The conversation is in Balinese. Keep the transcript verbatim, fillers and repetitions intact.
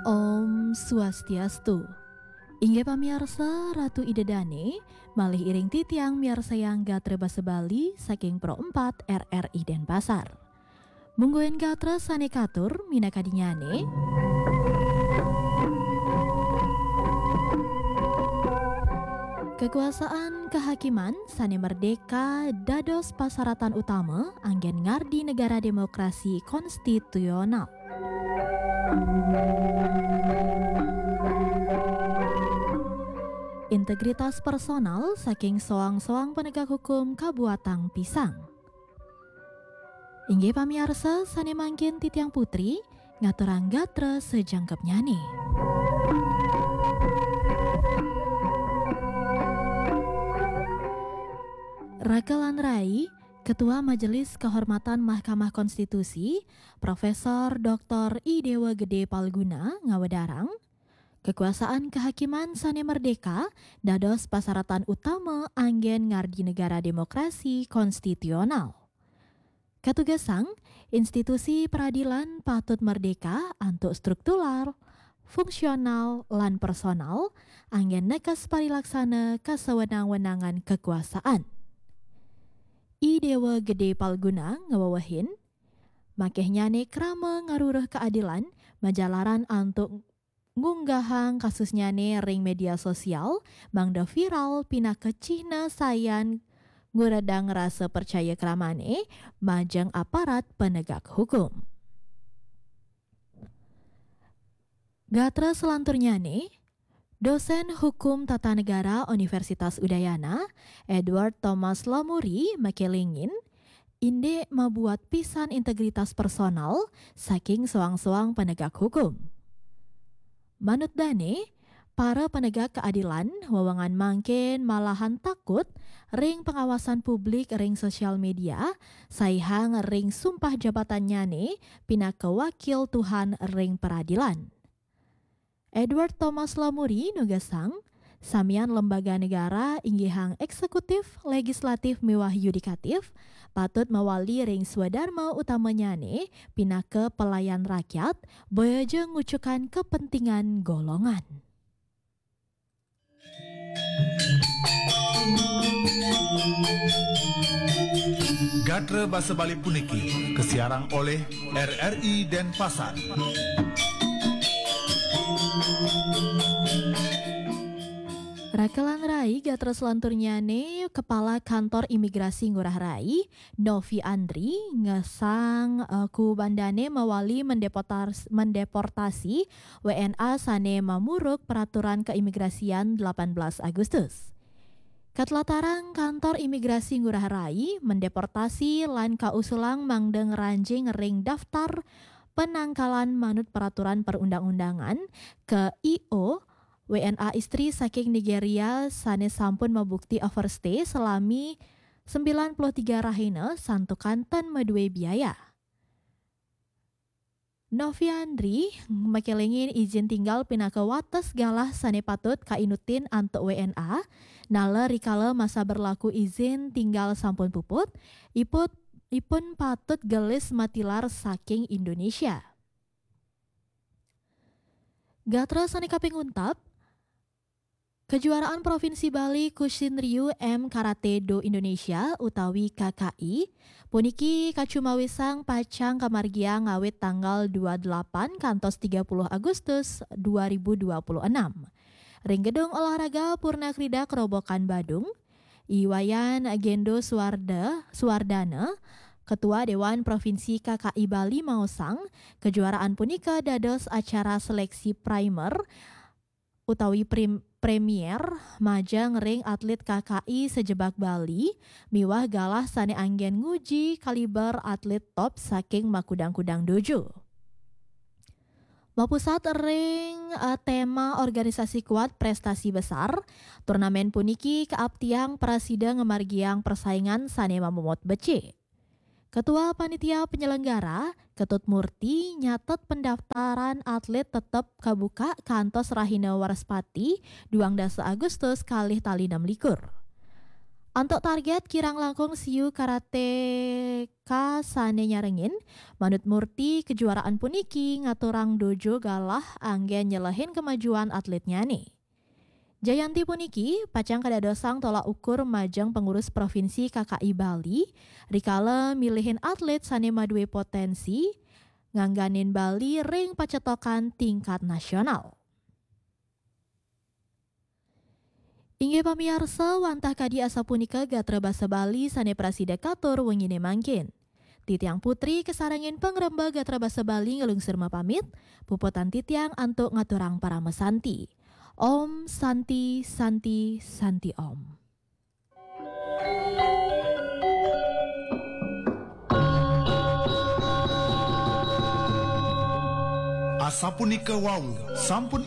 Om Swastiastu. Inggih pamiarsa, Ratu Ida Dane, malih iring titiang miarsayang gatra basa Bali saking Pro empat R R I Denpasar. Mungguing gatra sane katur minakadinyane. Kekuasaan kehakiman sane merdeka dados pasaratan utama anggen ngardi negara demokrasi konstitusional. Integritas personal saking soang-soang penegak hukum kabuatang pisang. Inggih pamiarsa, sane mangkin titiang Putri ngaturang gatra sajangkepnyane. Raka lan rai, Ketua Majelis Kehormatan Mahkamah Konstitusi, Profesor Doktor I Dewa Gede Palguna ngawedarang, kekuasaan kehakiman sane merdeka dados pasaratan utama anggen ngardi negara demokrasi konstitusional. Katugesang, institusi peradilan patut merdeka antuk struktural, fungsional, lan personal, anggen nekes parilaksana kasawenang-wenangan kekuasaan. I Dewa Gede Palguna ngawewehin, makehnyane krama ngaruruh keadilan majalaran antuk ngunggahang kasusnyane ring media sosial, mangda viral pinaka cihna sayan nguredang rasa percaya kramane majeng aparat penegak hukum. Gatra selanturnyane, dosen Hukum Tata Negara Universitas Udayana, Edward Thomas Lamuri, makelingin, indik mabuat pisan integritas personal saking soang-soang penegak hukum. Manut dane, para penegak keadilan wewengan mangkin malahan takut ring pengawasan publik ring sosial media, saihang ring sumpah jabatannyane pinaka wakil Tuhan ring peradilan. Edward Thomas Lamuri nugesang, samian lembaga negara inggihang eksekutif, legislatif, miwah yudikatif, patut mawali ring swadarma utamanyane pinaka pelayan rakyat, boya ja ngucukan kepentingan golongan. Gatra basa Bali puniki kasiarang oleh R R I Denpasar. Raka lan rai, gatra selanturnyane, Kepala Kantor Imigrasi Ngurah Rai, Novi Andri, ngesang, eh, kuubandane mawali mendeportas-, mendeportasi W N A sane mamuruk peraturan keimigrasian delapan belas Agustus. Katlatarang Kantor Imigrasi Ngurah Rai mendeportasi lan kausulang mangda ngranjing ring daftar penangkalan manut peraturan perundang-undangan ke I O W N A istri saking Nigeria sane sampun mabukti overstay salami sembilan puluh tiga rahina santukan tan madue biaya. Noviandri makelingin izin tinggal pinaka wates galah sane patut kainutin antuk W N A, nala rikala masa berlaku izin tinggal sampun puput, iput, ipun patut gelis matilar saking Indonesia. Gatra sane kaping untap, Kejuaraan Provinsi Bali Kushin Ryu M Karate Do Indonesia utawi K K I puniki kacumawisang pacang kamargiang ngawit tanggal dua delapan kantos tiga puluh Agustus dua ribu dua puluh enam ring Gedung Olahraga Purna Krida Kerobokan Badung. I Wayan Gendo Suwarda, Suwardana, Ketua Dewan Provinsi K K I Bali maosang, kejuaraan punika dados acara seleksi primer utawi prim-, premier majeng ring atlet K K I sajebag Bali miwah galah sane anggen nguji kaliber atlet top saking makudang-kudang dojo. Mapusat ring, eh, tema Organisasi Kuat Prestasi Besar, turnamen puniki kaaptiang prasida ngamargiang persaingan sane mamomot becik. Ketua Panitia Penyelenggara, Ketut Murti, nyatet pendaftaran atlet tetep kabuka kantos rahina Wraspati, duang dasa Agustus, kalih tali enam likur. Antuk target kirang langkung siu karateka sane nyarengin, manut Murti kejuaraan puniki ngaturang dojo galah anggen nyelehin kemajuan atletnyane. Jayanti puniki pacang kadadosang tolak ukur majeng pengurus provinsi K K I Bali, rikala milihin atlet sane madue potensi ngangganin Bali ring pacetokan tingkat nasional. Inggih pamiarsa, wantah kadi asapunika gatra basa Bali sane prasida katur wengine mangkin. Titiang Putri kasarengin pangremba gatra basa Bali nglungsur mapamit, puputan titiang antuk ngaturang parama santi. Om Santi, Santi, Santi Om. Asapunika wau, sampun